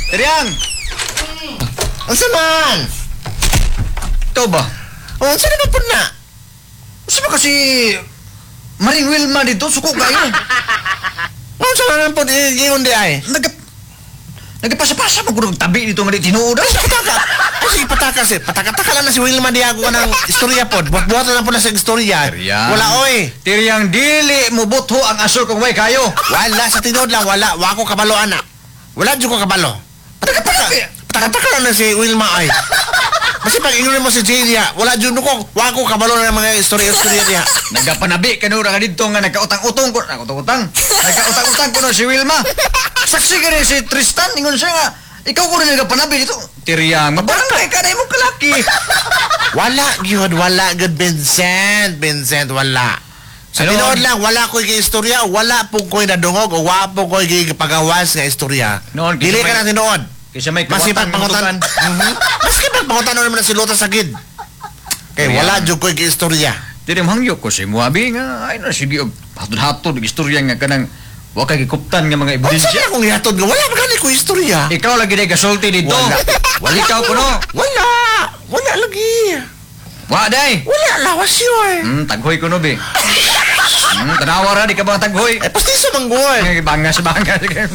Tiriyang! Unsa man? Ikaw ba? Oh, unsa naman po na? Unsa ba kasi Maring Wilma dito, suko kayo. Unsa naman po giingon di ay? Nagapasa-pasa mo kung tabi dito nga di tinuod. Ay, pataka. Ay, sige, pataka si. Pataka-taka lang na si Wilma Diago ka ng istorya po. Buhat-buhat na lang po na sa istorya. Tiriyang. Wala, oy. Tiriyang, dili mo butho ang asol kung way kayo. Wala, sa tinuod lang, wala. Wa ko kabalo, anak. Wala dyan ko kabalo. Pataka-taka. Pataka-taka lang na si Wilma, ay. Kasi pag ingon mo si Jay niya, wala dyan ko, wa ko kabalo na ng mga istorya-istorya niya. Nagapanabi kanura ka dito nga nagkautang-utong ko. Nagkautang-utang. Nagkautang-utang ko na si Wilma. Saksi ka rin si Tristan. Ingon siya nga, ikaw ko rin nagapanabi dito. Tiriyang, mabarangay ka na imong kalaki. Wala gyud, wala gyud, Vincent. Vincent, wala. Sa Ano? tinuod lang, wala ko'y istorya, wala po ko'y nadungog, o wala po ko'y gipagawas nga istorya. Noon, Dili kisa ka may- na tinuod. Kaysa may Masipag kawatan pangutan. pangutan. Maski pag pangutan naman na si Lota sa gid. Kay Kaya- wala jud ko'y istorya. Dili manghangyo ko si Muabi nga ay na sige og hatod-hatod og istorya nga kanang wa kay gikuptan nga mga Unsa ebidensya. man akong ihatod nga wala man gani ko istorya. Ikaw lagi day gasulti dito. Wala. Wala ikaw kuno. Wala. Wala lagi. Wa day. Wala lawas yun. Taghoy kuno bi. Tanawa ra di ka ba taghoy? Eh, pastiso man gud. Ay, bangas bangas.